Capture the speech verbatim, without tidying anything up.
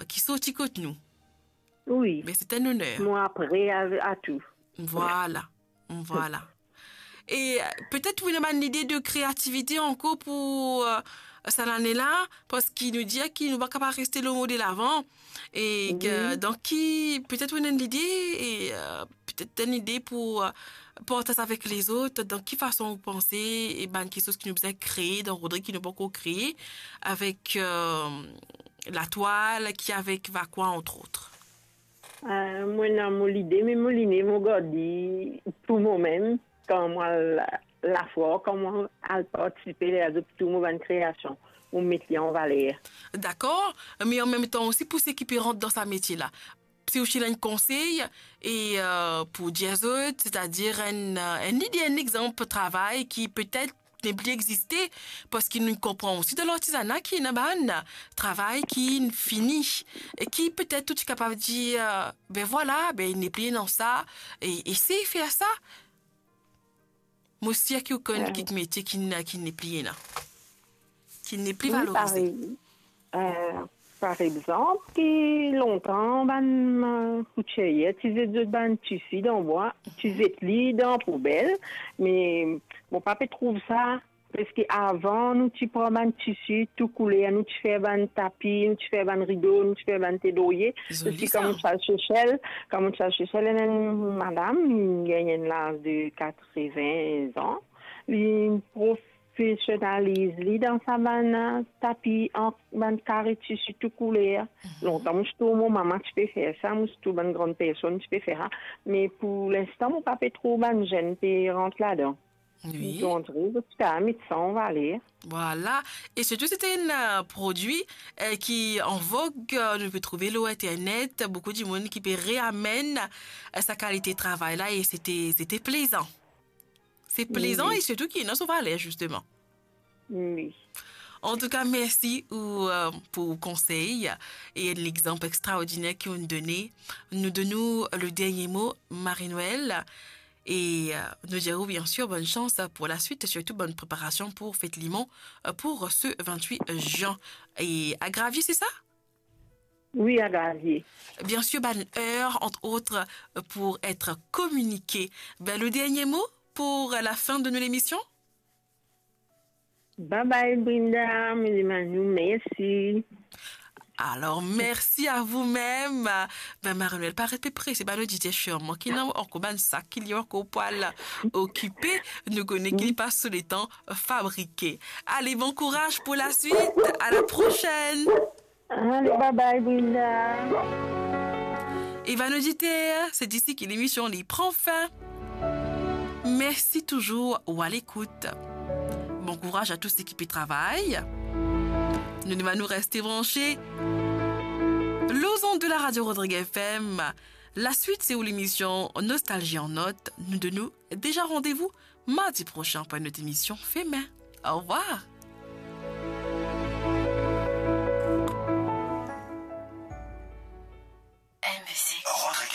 ki sorti kot nou. Wi. Me se enn oner. Mo apre a, a tou. Vwala, vwala. E, euh, petet ou ena bann lide de kreativite ankor pou, euh, sa lane la, parski nou dir ki nou pa kapav reste lor mo de lavan. E ke, wi, dan ki, petet ou ena enn lide, e, euh, petet enn lide pou, euh, partaz avek lezot, dan ki fason ou panse, e bann kiksoz ki nou bizin kree dan Rodrig ki nou pankor kree, avek, euh, latwal, ki avek vakwa, antrot. Euh, mo ena mo lide, me mo lide, mo gard li pou momem, kan mo al lafwar, kan mo al partisipe, lezot tou mo bann kreasion, mo met li an valer. Dakor, me anmemtan osi pou seki pe rant dan sa metie la, si ou ti ena enn konsey, e, euh, pou dir zot, setadir enn, euh, enn lide, enn exanp travay ki petet nepli existe, parski nou konpran osi dan lartizana ki ena bann travay ki fini, e ki petet ou ti kapav dir, euh, be vwala, be nepli ena sa, e esey fer sa. Mo sir ki ou konn, euh, kik metie ki n-, ki nepli ena, ki nepli valorize. Wi, parey. Euh, par exanp, ki lontan bann, euh, koutier ti zet zot bann tisi dan bwa, ti zet li dan poubel, me mo pa pe trouv sa, parski avan nou ti pran bann tisi tou kouler, nou ti fer bann tapi, nou ti fer bann rido, nou ti fer bann te lorye. Zoli. Parski sa. Kan mo ti al Sesel, kan mo ti al Sesel, ena enn madam, li gagn enn laz de katreven an, li prof- profesionaliz li dan sa bann, euh, tapi an bann kare tisi tou kouler. Mhm. Lontan mo ti trouv mo mama ti pe fer sa, mo ti trouv bann gran personn ti pe fer sa. Me pou linstan, mo pa pe trouv bann zenn pe rant ladan. Wi. Donk, zot ti kapav met sa an valer. Vwala. E sirtou, se enn, euh, prodwi, euh, ki an vog, euh, nou pe trouve lor internet, boukou dimoun ki pe reamenn, euh, sa kalite travay la, e se te, se te plezan. Se plezan. Wi. E sirtou ki ena so valer, zisteman. Wi. Antouka, mersi ou, euh, pou konsey e enn lexanp extraordiner ki ou'nn done. Nou donn ou le dernie mo, Marie-Noëlle. E, euh, nou dir ou, bien sir, bonn sans pou laswit, sirtou bonn preparasion pou fet Limon, euh, pou se vintwit zin. E a Gravier, se sa? Wi, a Gravier. Bien sir, bann er, ant ot, pou et kominike. Be, le dernie mo pou lafin de nou lemision? Bye bye, Brinda. Mo dir bann nou mersi. Alor, mersi a voumem. Be, Marie-Noëlle, pa ret pe prese bann oditer, sirman ki ena ankor bann sak ki li ankor pou al okipe. Nou kone ki li pa so letan fabrike. Ale, bon kouraz pou laswit. A la prosenn. Ale, bye bye, Brinda. E bann oditer, se disi ki lemision li pran fin. Mersi touzour ou a lekout. Bon kouraz a tou seki pe travay. Nou demann ou reste branche lor zond de la radio Rodrig F M. Laswit, se ou lemision Nostalgie en Notes. Nou donn ou deza randevou mardi prosin pou enn lot emision Femin. Orvwar.